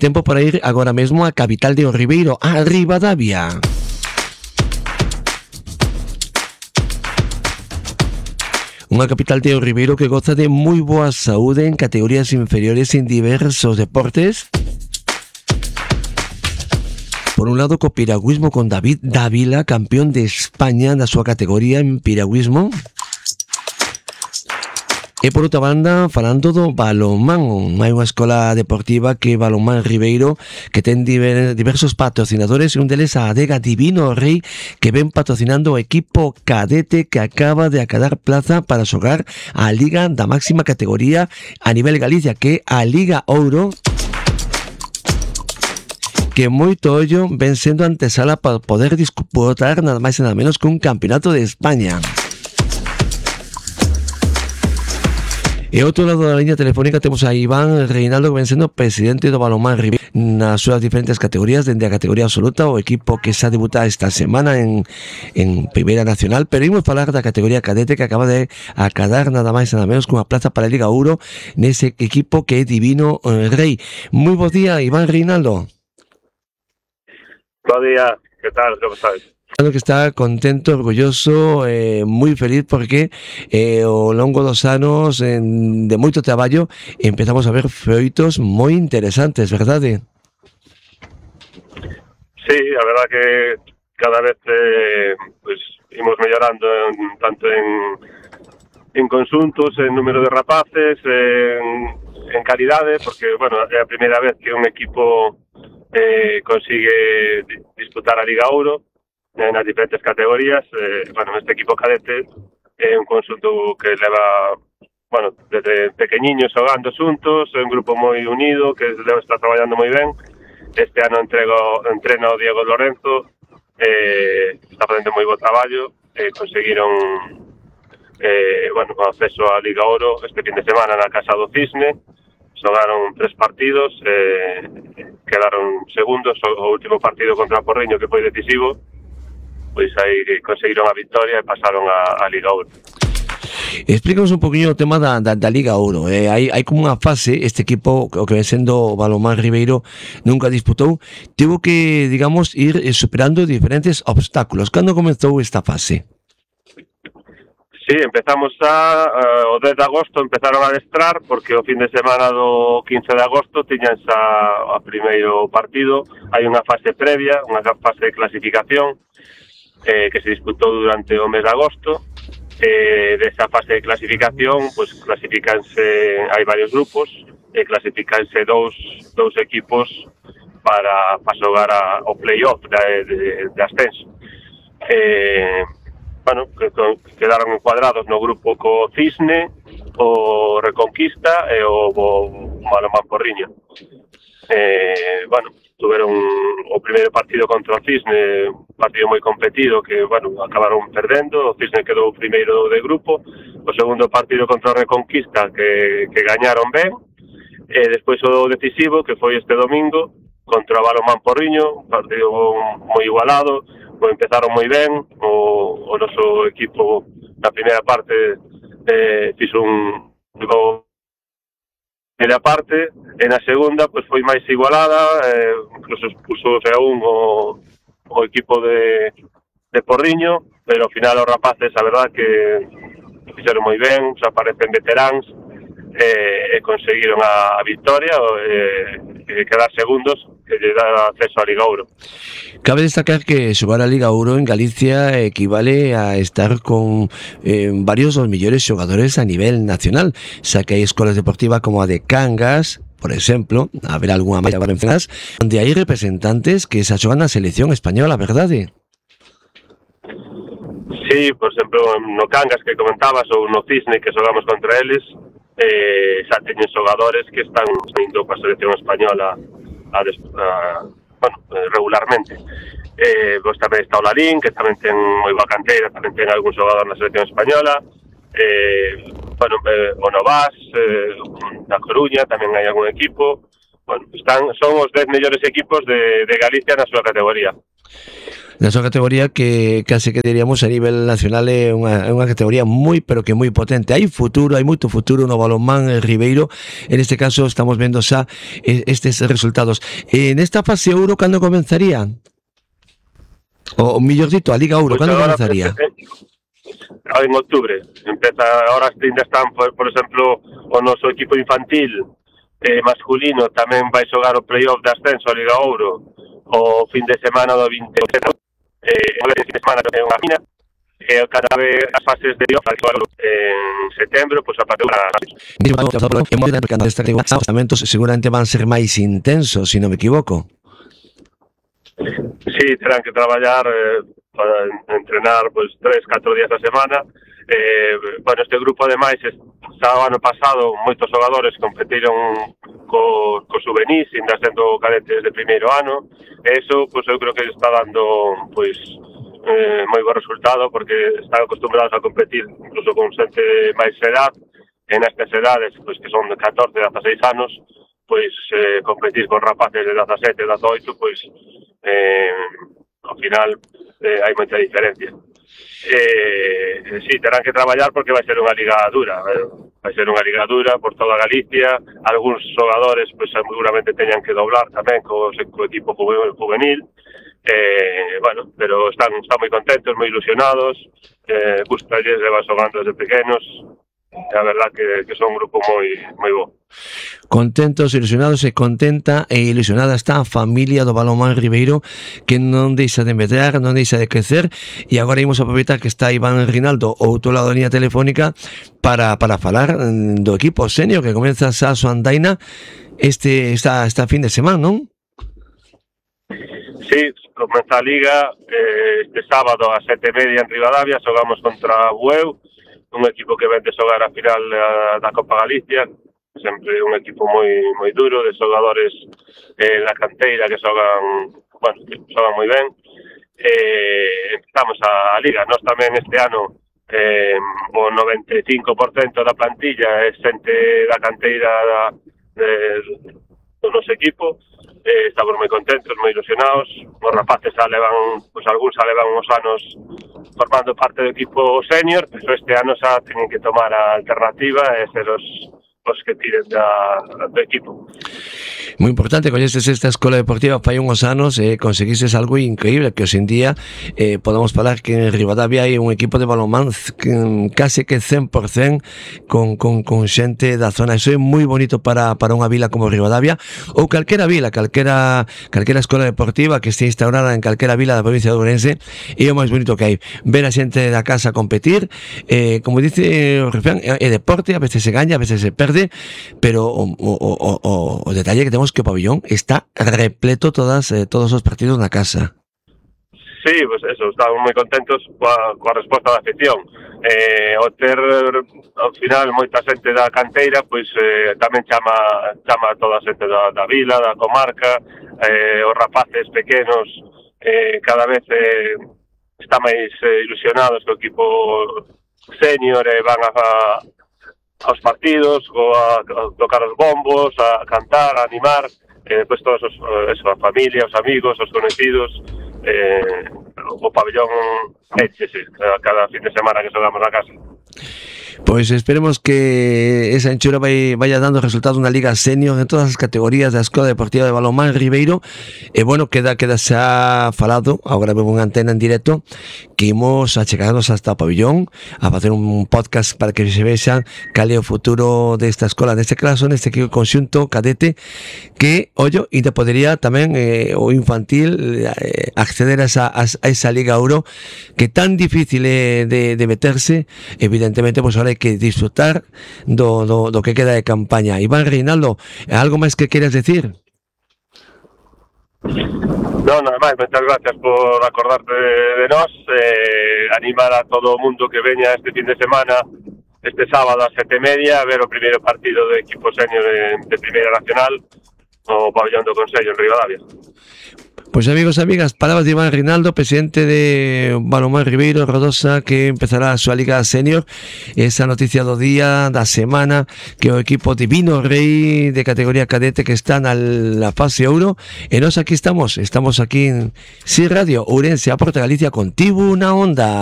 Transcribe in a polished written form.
tempo para ir agora mesmo á capital de O Ribeiro, a Ribadavia. Unha capital de O Ribeiro que goza de moi boa saúde en categorías inferiores en diversos deportes. Por un lado, co piragüismo con David Dávila, campeón de España na súa categoría en piragüismo. E por outra banda, falando do balonmán, hai unha escola deportiva que Balonmán Ribeiro que ten diversos patrocinadores e un deles a adega Divino Rei que ven patrocinando o equipo cadete que acaba de acadar plaza para xogar a liga da máxima categoría a nivel Galicia, que é a Liga Ouro, que moito ollo ven sendo antesala para poder disputar nada máis e nada menos que un campeonato de España. E outro lado da liña telefónica temos a Iván Reinaldo, que ven sendo presidente do Balonmán Ribeiro nas súas diferentes categorías, dende a categoría absoluta, o equipo que xa debuta esta semana en Primeira Nacional, pero imos falar da categoría cadete que acaba de acadar nada máis e nada menos cunha plaza para a Liga Ouro nese equipo que é Divino Rei. Moi bo día, Iván Reinaldo. Bo día, que tal, como estás? Que está contento, orgulloso, moi feliz porque ao longo dos anos de moito traballo empezamos a ver feitos moi interesantes, verdade? Sí, a verdad que cada vez pues imos mellorando tanto en conxuntos, en número de rapaces, en calidade, porque, bueno, é a primeira vez que un equipo consigue disputar a Liga Ouro nas diferentes categorías. Bueno, este equipo cadete é un conxunto que leva, bueno, desde pequeniños xogando xuntos, é un grupo moi unido que está traballando moi ben. Este ano entrena o Diego Lorenzo, está facendo moi bo traballo, conseguiron bueno, o acceso á Liga Ouro este fin de semana na Casa do Cisne. Xogaron 3 partidos, quedaron segundos. O último partido contra o Porriño, que foi decisivo, pois aí conseguiron a victoria e pasaron a Liga Ouro. Explícanos un poquinho o tema da Liga Ouro. Hai como unha fase, este equipo, o que ven sendo o Balonmán Ribeiro, nunca disputou, tivo que, digamos, ir superando diferentes obstáculos. Cando comezou esta fase? Sí, empezamos o 10 de agosto empezaron a adestrar, porque o fin de semana do 15 de agosto tiñan xa o primeiro partido. Hai unha fase previa, unha fase de clasificación, que se disputou durante o mes de agosto. Desa fase de clasificación, pues clasificanse, hai varios grupos, clasificanse dous equipos para xogar o play-off de ascenso. Bueno, quedaron encuadrados no grupo co Cisne, o Reconquista e o Balonmán Porriño. Bueno, tuveron o primeiro partido contra o Cisne, un partido moi competido que, bueno, acabaron perdendo. O Cisne quedou primeiro de grupo. O segundo partido contra o Reconquista que gañaron ben, e despois o decisivo, que foi este domingo contra o Balonmán Porriño, un partido moi igualado. Empezaron moi ben. O noso equipo na primeira parte fixo un gol na parte, e na segunda pois foi máis igualada, incluso expuso a un o equipo de Porriño, pero ao final os rapaces, a verdad que fixeron moi ben, xa parecen veteráns, e conseguiron a victoria, e quedar segundos, que lle dá acceso á Liga Ouro. Cabe destacar que xogar a Liga Ouro en Galicia equivale a estar con varios dos mellores xogadores a nivel nacional, xa que hai escolas deportivas como a de Cangas, por exemplo, a ver algunha máis agora mencionadas, onde hai representantes que xa xogan na selección española, verdade? Sí, por exemplo, no Cangas que comentabas, ou no Cisne que xogamos contra eles, xa teñen xogadores que están indo coa selección española bueno, regularmente. Pois tamén está o Lalín, que tamén ten moi boa canteira, tamén ten algún xogador na selección española. Bueno, o Novas, na Coruña tamén hai algún equipo. Bueno, son os 10 mellores equipos de Galicia na súa categoría. Nesa categoría que case que diríamos a nivel nacional é unha categoría moi, pero que moi potente. Hai futuro, hai moito futuro no balonmán ribeiro. En este caso estamos vendo xa estes resultados. Nesta fase Ouro, cando comenzaría? O mellor dito, a Liga Ouro, cando comenzaría? En outubro. Empeza, ahora ainda están, por exemplo, o noso equipo infantil masculino tamén vai xogar o playoff de ascenso a Liga Ouro o fin de semana do 28. O fin de semana ten unha mina e cada vez as fases de playoff en setembro, pois a partir os tratamentos seguramente van ser máis intensos, se non me equivoco. Sí, terán que traballar para entrenar pois 3-4 días a semana. Bueno, este grupo ademais xa o ano pasado moitos xogadores competiron co juvenís, ainda sendo cadetes de primeiro ano. Eso, pois eu creo que está dando pois moi bo resultado, porque están acostumbrados a competir incluso con xente máis edad, e nestas edades, pois que son de 14, 16 anos, pois competir con rapaces de 17, 18, pois ao final hai moita diferencia. Sí, terán que traballar porque vai ser unha liga dura, vai ser unha liga dura por toda Galicia. Algúns xogadores pois seguramente teñan que doblar tamén co equipo juvenil. Bueno, pero están moi contentos, moi ilusionados, gustalles, levan xogando desde pequenos. A verdad que son un grupo moi bo. Contentos, ilusionados e contenta e ilusionada está a familia do balonmán ribeiro, que non deixa de medrar, non deixa de crecer, e agora imos aproveitar que está Iván Rinaldo ao outro lado da liña telefónica para falar do equipo senior que comeza a súa andaina esta fin de semana, non? Sí, comeza a Liga este sábado a 7:30 en Ribadavia. Xogamos contra Bueu, un equipo que vende xogar a final da Copa Galicia, sempre un equipo moi duro, de xogadores na canteira que xogan moi ben. Empezamos a Liga. Nós tamén este ano o 95% da plantilla é xente da canteira do noso equipo. Estamos moi contentos, moi ilusionados. Os rapaces xa levan, pois algúns xa levan uns anos formando parte do equipo senior, pero este ano xa teñen que tomar a alternativa e ser os que tiren do equipo. Moi importante, coñeces esta escola deportiva fai uns anos e conseguises algo increíble, que hoxe en día podemos falar que en Ribadavia hai un equipo de balonmán case que 100% con xente da zona. Iso é moi bonito para unha vila como Ribadavia, ou calquera vila, calquera escola deportiva que este instaurada en calquera vila da provincia de Ourense. É o máis bonito que hai, ver a xente da casa competir. Como dice o refrán, é deporte, a veces se gaña, a veces se perde, pero o detalle que temos que o pabillón está repleto todos os partidos na casa. Sí, pues eso, estamos moi contentos coa resposta da afición. O ter ao final moita xente da canteira, pois tamén chama a toda a xente da vila, da comarca. Os rapaces pequenos cada vez está máis ilusionados co equipo senior e van aos partidos, a tocar os bombos, a cantar, a animar, depois todos a familia, os amigos, os conocidos, o pabellón échese cada fin de semana que xogamos na casa. Pois esperemos que esa enchura vaya dando resultados na Liga Senior en todas as categorías da Escola Deportiva de Balonmán Ribeiro. E bueno, queda xa falado, agora vemos unha antena en directo, que imos a chegarnos hasta o pabellón a facer un podcast para que se vexan cal é o futuro desta escola, neste caso, neste conxunto cadete, que, ollo, ainda podería tamén o infantil acceder a esa Liga Ouro, que tan difícil é de meterse. Evidentemente, pois ahora hai que disfrutar do que queda de campaña. Iván Reinaldo, algo máis que queres decir? No, nada máis, moitas gracias por acordarte de nós, animar a todo o mundo que veña este fin de semana, este sábado a 7:30, a ver o primeiro partido do equipo senior de Primeira Nacional, o pabellón do Consello en Ribadavia. Pois amigos e amigas, palabras de Iván Reinaldo, presidente de Balonmán Ribeiro Rodosa, que empezará a súa Liga Senior. Esa noticia do día, da semana, que o equipo Divino Rei de categoría cadete que está na fase ouro, e nós aquí estamos aquí en Si Radio Ourense, a Porta Galicia, contigo na onda.